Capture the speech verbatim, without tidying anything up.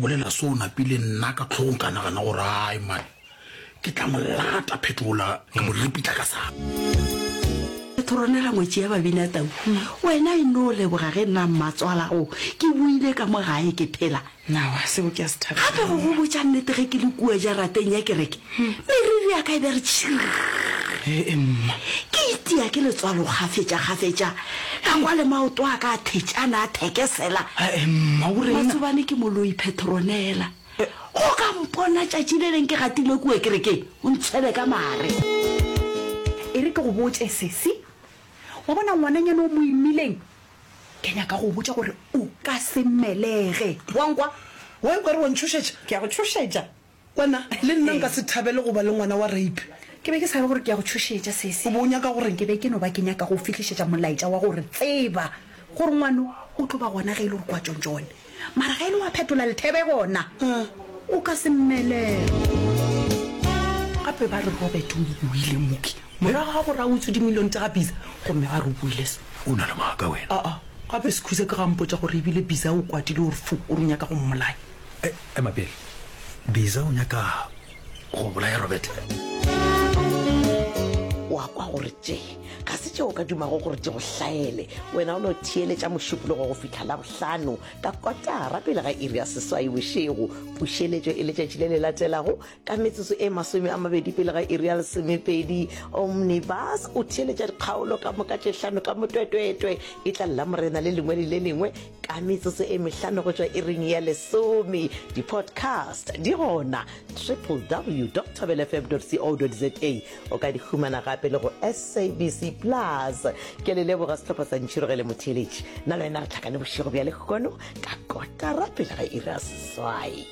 bolela so o napile nna ka tlhogong ka nagana gore ai man ke tla mo lata phetola ka mo ripitla ka sa Petronela ngwetši ya Babinatau, wena e no leboga ge nna mmatswalago ke boile ka mo gae ke phela. Nawa, seo ke a se thabela. Gape go go botša nnete ge ke le kua jarateng ya kereke, meriri ya ka e be re tšhirr. Ee, mma. Ke itia ke letswalo kgafetša-kgafetša, ka kwa le maoto a ka a thetšana a thekesela. Ee, mma, o reng? Matsobane ke moloi Petronela. Go ka mpona tšatši le leng ke gatile kua kerekeng, o ntshwele ka mare. E re ke go botše, sesi. Wa bona ngwananyana o mo imileng? Ke nyaka go go botša gore o ka se mmelege. Wa nkwa? Wa nkwa re wa ntšhošetša? Ke a go tšhošetša. Wena, le nna nka se thabele go ba le ngwana wa rape. Ke be ke sa re gore ke a go tšhošetša, sesi. O be o nyaka go reng? Ke be ke no ba ke nyaka go o fihlišetša molaetša wa gore tseba gore ngwano o tlo ba gona ge e le gore kwa Tšontšone. Mara ge e le wa phetola lethebe gona, o ka se mmelege. Gape ba re Robert o boile mooki morago ga gore a utswe dimilione tša ga Biza, gomme ba re o boile so. O na le maaka wena. Aa, gape Sekhuza ke ga mpotša gore ebile Biza o kwatile o re fu, o re o nyaka go mmolaya. E, ema pele. Biza o nyaka go bolaya Robert? O a kwa gore tše ga se tše o ka dumago gore di go hlaele. Wena o no theeletša Mošupologo go fihla Labohlano ka kotara pele ga iri ya seswai bošego. Pušeletšo e letšatši le le latelago ka metsotso e masome a mabedi pele ga iri ya lesomepedi. Omnibus o theeletša dikgaolo ka moka tše hlano ka motwetwetwe. E tla Lamorena le lengwe le le lengwe ka metsotso e mehlano go tšwa iring ya lesome. Di-podcast di gona www dot thobelfm dot co dot za. O ka di humana gape le go S A B C Plus. Ke le leboga sehlopha sa Ntšhirogele Motheeletši. Nna le wena re hlakane bošego bja lehono ka kotara pele ga iri ya seswai.